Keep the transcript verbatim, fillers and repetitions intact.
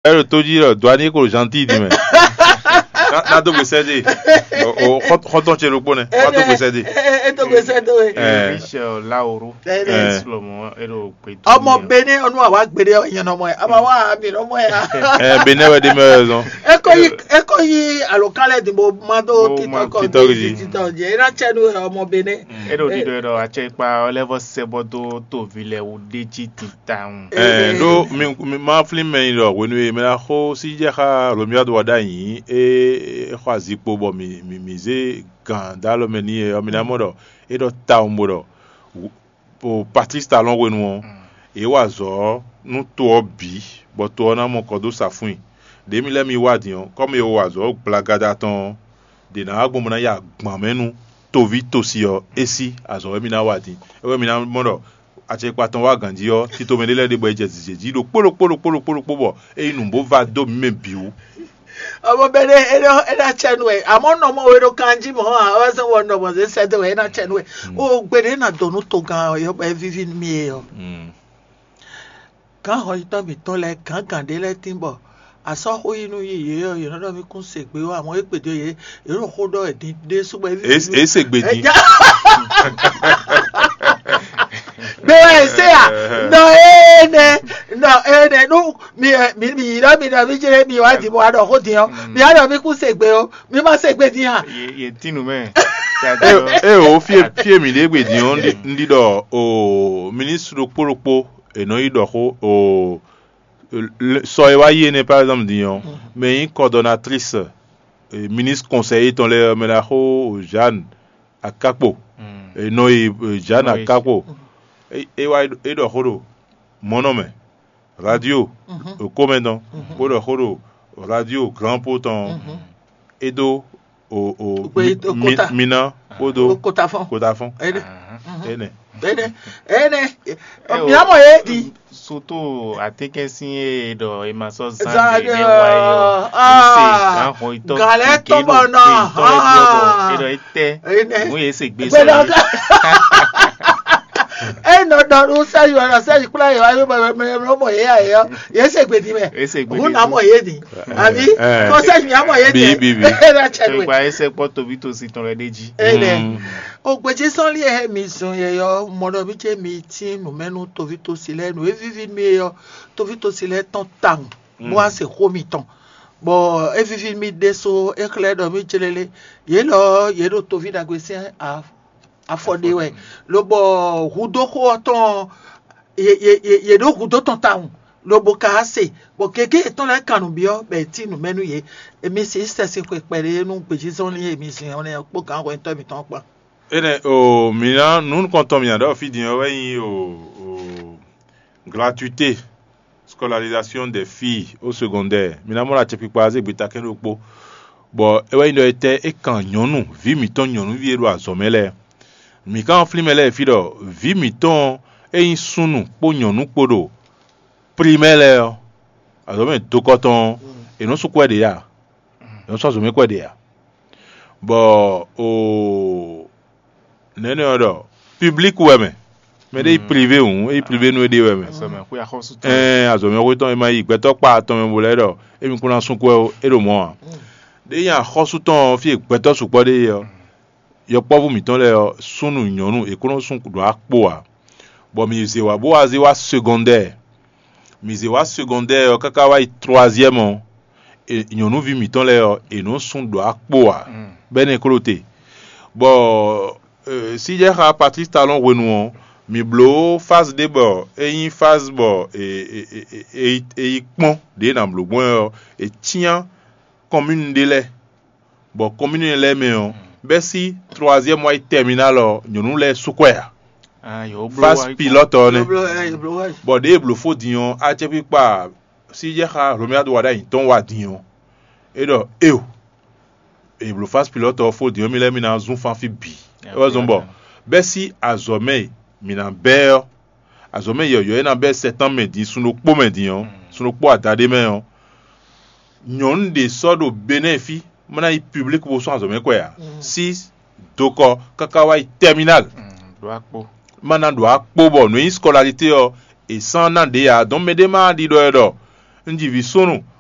Ɛ ɖo tó jí ɖɔ dwani ko zantíi din mɛ. Ná dó gbe sɛ́ dé. Xɔtɔn ce ɖokpó nɛ. Wá dó gbe sɛ́ dé. É tó gbe sɛ́ dó we. Michel Laoro. Sɔlɔmɔ é ɖo gbe dó. Ọmọ Benin ọnu àwa gbede ọyàn ọmọ ẹ àmà wà á mi ọmọ ẹ. Ɛ Benin wɛ ɖe mɛ wɛ zɔn. Eko yi eko yi alokalẹ di mo ma do titọ kọ Titɔ gidi. Titọ jẹ ina tsẹnu ọmọ Benin. É ɖo ɖiɖɔ ɛ ɖɔ atsɛkpa ɔ́ lɛ́ vɔ sɛ bɔ dó tovi lɛ wú ɖé jí titawun. Ɛ ɖó mi mi ma flin mɛ yi ɖɔ hwenu e mɛ na xo sí jɛ xa Romia do wa ɖ'ayǐ é é xɔ azikpo bɔ mi mi mi zé gǎn dó alɔ mɛ n'i é ɔ́ mi ná mɔ ɖɔ é ɖɔ tawun bo ɖɔ o Patrice Talon hwenu ɔ́, yě wa azɔ̌ ɔ́ nú to ɔ́ bǐ, bɔ to ɔ́ ná mɔ kɔ dó sa fún i. Đě mi lɛ́ mi wá din ɔ́, kɔ́mi e wa azɔ̌ gblagada tɔn ɔ́, ɖě ná wá gbɔn bó ná yi agban mɛ nú toví tosi ɔ́, é sí azɔ̌ wɛ mi ná wa din. É wɛ mi ná mɔ ɖɔ acɛkpa tɔn wá ganjí ɔ́, tito mɛ ɖé lɛ́ɛ ɖe bɔ è jɛ zǐzé jí ɖokpó ɖokpó ɖokpó ɖokpó ɖokpó bɔ é yi nǔ bó va dó mǐ mɛ bǐ wú. Ọmọ bẹni ẹni ẹni atsẹnu ẹ àmọ́ nọmọ wo ɖo kanjí mọ́ ɔ́ wá sọ wọ nọmọ ṣe sẹ́dọ̀ ẹ ẹni atsẹnu ẹ o gbede na donu to gan ọyọ bẹ vivi mi ẹ ọ. Gǎn hɔnyitɔ́ mǐtɔn lɛ́ɛ gǎngǎn ɖé lɛ́ɛ tín bɔ asɔ́ xó yi nú yí yě ɔ́ yě nɔ ɖɔ mì kún se gbé ɔ́ àmọ́ é gbějɔ yě yě ɖo xó ɖɔ ɛ din ɖésú bɔ é vivi. É se gbè din. Gbé wɛ ɛ se à nɔ énɛ nɔ énɛ nú mi ɛ mi mi yi ɖɔ mi ɖɔ mi jɛ mi wá di mo wá ɖɔ xó din ɔ́ mi wá ɖɔ mi kún se gbé ɔ́ mi ma se gbé din hã. Ye tin nu mɛ. E o fie fie mi ɖe gbe din ɔ́ ndi ɖɔ o ministre ɖokpó ɖokpó e nɔ yi ɖɔ xó o sɔ e wá yi énɛ́ par exemple din ɔ́ mɛ nyí coordonnatrice ministre conseil tɔn lɛ mɛ ná xó Jeanne Akakpo e nɔ yi Jeanne Akakpo e wá e ɖɔ xó ɖo mɔnɔ mɛ radio okomɛdɔn bó ɖɔ xó ɖo radio grand po tɔn e dó o o Gbe- o kota. Mina kpódó Kotafɔn. Kotafɔn Ene. Ene. Ene. Ene. Miamɔ ye di. Soto atekɛsin e ɖɔ e ma sɔ zan Zan de ɖe ne wa ye o. Ah. Ese gan xɔ itɔ. Galɛ tɔmɔ nɔ. Ah. E ɖɔ e tɛ. Ene. Mu ye se gbe Gbɛdɔ sɔ ga. E nɔ dɔ nu sɛyi wɛ sɛyi kplɔ yi wa yi mɔ mɔ ye ya ye yɔ ye se gbedi mɛ. Ese gbe Hu na mɔ ye di. Abi. Eh. Ko sɛyi mi amɔ ye Bi, di. Bi, bi. E na cɛ ye. Gba ese kpɔ tobi to si tɔn lɛ de ji. Ene. O gbedzi sɔn li he mi zun ye yɔ mɔ dɔ mi ce mi ti numɛnu tovi tosi lɛ nu e vivi mi ye yɔ tovi tosi lɛ tɔn tawun. Bó wá se xó mitɔn. Bɔ é vivi mi ɖésó é xlɛ́ ɖɔ mí jlélé. Yě lɔ ɔ́, yě ɖo toví ɖagbe sín a- afɔ ɖe wɛ, lobɔ hudó xó ɔ́ tɔn ɔ́, yě- yě- yě- yě ɖó hudó tɔn tawun, lobo ka se, bɔ gěgé yětɔn lɛ́ɛ kan nǔ byɔ́, bɔ è cí nǔ mɛ nú yě. Emi si sɛ́ sín xwe kpɛɖé nú gbějízɔ́nlin e mi zin ɔ́ nɛ́ kpó gǎn hwɛntɔ́ mitɔn kpán. Énɛ́ o mǐ ná nǔ nukɔntɔn mǐ ná ɖɔ fí din ɔ́ wɛ nyí o o gratuité scolarisation des filles au secondaire. Mǐ ná mɔ ɖo acɛkpikpa zé gbeta kɛ́n ɖokpó, bɔ é wɛ nyí ɖɔ étɛ́ é kan nyɔ̌nu vǐ mǐtɔn nyɔ̌nuví e ɖo azɔ̌ mɛ lɛ́ɛ. Mǐ ka nɔ flín mɛ lɛ́ɛ fí ɖɔ vǐ mǐtɔn e nyí súnnu kpó nyɔ̌nu kpó ɖo primɛ́ lɛ́ɛ ɔ́, azɔ̌ mɛ dokɔ́tɔn ɔ́, è nɔ sú kwɛ́ ɖě a? È nɔ sú azɔ̌ mɛ kwɛ́ ɖě a? Bɔ o nɛ̌nɛ ɔ́ ɖɔ public wɛ mɛ, mɛ ɖé yi privé hǔn, é yi privé nú é ɖe wɛ mɛ. Azɔ̌mɛxwé axɔ́sútɔn. Ɛɛ azɔ̌mɛxwé tɔn e ma yi gbɛtɔ́ kpa atɔn mɛ bo lɛ́ ɖɔ émi kún ná sú kwɛ ó, é ɖo mɔ̌ ǎ. Ɖé nyi axɔ́sútɔn ɔ́ fí e gbɛtɔ́ sukpɔ́ ɖe é ɔ́, yɔkpɔ́vú mǐtɔn lɛ́ɛ ɔ́, súnnu nyɔ̌nu è kún nɔ sú ɖo akpo ǎ, bɔ mǐ zě wá bó wá zé wá segɔndɛ́ɛ. Mǐ zé wá segɔndɛ́ɛ ɔ́ káká wá yi troisième ɔ́, e- nyɔ̌nuví mǐtɔn lɛ́ɛ ɔ́, è nɔ́ sú ɖo akpo ǎ, bɔ é nɛ́ kló te. Bɔ e, síjɛ́xá Patlísi Talɔ́n hwenu ɔ́, mǐ bló fázi ɖé bɔ é nyí fázi bɔ è è- è- è- è- è yi kpɔ́n ɖě è nǎ bló gbɔn wɛ ɔ́, è cyán kɔmínu ɖé lɛ́ɛ, bɔ kɔmínu lɛ́ɛ mɛ ɔ́, bɛ́ sí troisième wá yi terminal ɔ́, nyɔ̌nu lɛ́ɛ sú kwɛ ǎ. Fázi pilɔ́tɔ ɔ́ nɛ́. Bɔ ɖěe è blǒ fó din ɔ́, acɛkpikpa síjɛ́xá Romia ɖo wa ɖ'ayǐ tɔn wa din ɔ́, é ɖɔ éo, è blǒ fázi pilɔ́tɔ ɔ́ fó din ɔ́, mi lɛ́ɛ mi ná zún fán fí bǐ. É wɛ zɔ́n bɔ bɛ́ sí azɔ̌ mɛ e mǐ ná bɛ́ ɔ́, azɔ̌ mɛ yɔ̌yɔ́ e ná bɛ́ sɛtánmɛ din sun ɖokpó mɛ din ɔ́, sun ɖokpó adaɖé mɛ ɔ́, nyɔ̌nu ɖě sɔ́ ɖo Benɛ́ɛ fí má ná yi publik bó sɔ́ azɔ̌ mɛ kwɛ ǎ. Sí dokɔ káká wá yi tɛminál. Má ná ɖo akpó bɔ nǔ e nyí skɔlalité ɔ́, è sán ná ɖě ǎ. Dɔn mɛɖé má ɖi ɖɔ ɛ ɖɔ Un ji vǐ súnnu,